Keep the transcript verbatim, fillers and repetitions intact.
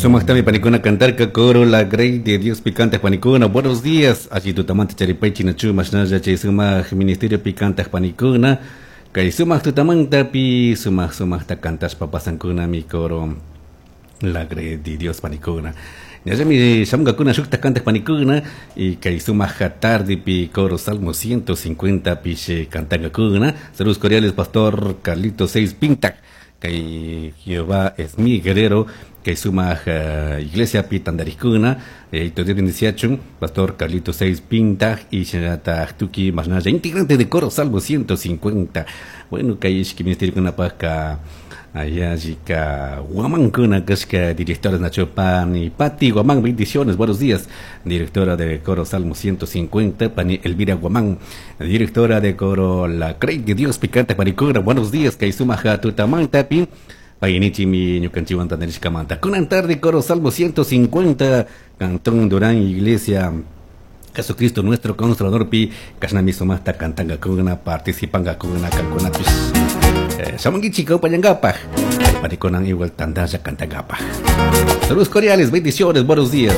Sumaktami panikuna cantarka coro La Grey de Dios picante panikuna. Buenos días. Allí tutamanta charipay chinachu mashnalla chay sumak ministerio picante panikuna. Kay sumak tutamanta pi sumak sumakta cantashpa pasankuna mi coro La Grey de Dios panikuna. Ñallami shamungakuna shukta kantag panikuna y kay sumak tarde pi coro Salmo ciento cincuenta pish cantangakuna. Saludos cordiales, pastor Carlito seis Pintac. Kay Jehová es mi guerrero, kay sumak uh, iglesia pi tandarikuna, eh, Dios bendiciachun, pastor Carlito seis Pintac y shinata tuki masnalla integrante de coro Salmo ciento cincuenta. Bueno, kay ishki ministerio kunapaka allá chica Guamán kashka directora Nacho Pani Pati Guamán, bendiciones, buenos días, directora de coro Salmo ciento cincuenta, Pani Elvira Guamán, directora de coro La Grey de Dios Picante panikuna, buenos días, kay sumaja tutamanta pi Payinichi mi ñukanchiwan tandarishkamanta. Kunan tarde coro Salmo ciento cincuenta, Cantón Durán, Iglesia Jesucristo nuestro Consolador pi kashnami sumajta cantangakuna, participangakuna kankunapish. Eh, shamunguichik kawpallangapaj. Panikunan igual tandalla cantangapaj. Saludos cordiales, bendiciones, buenos días.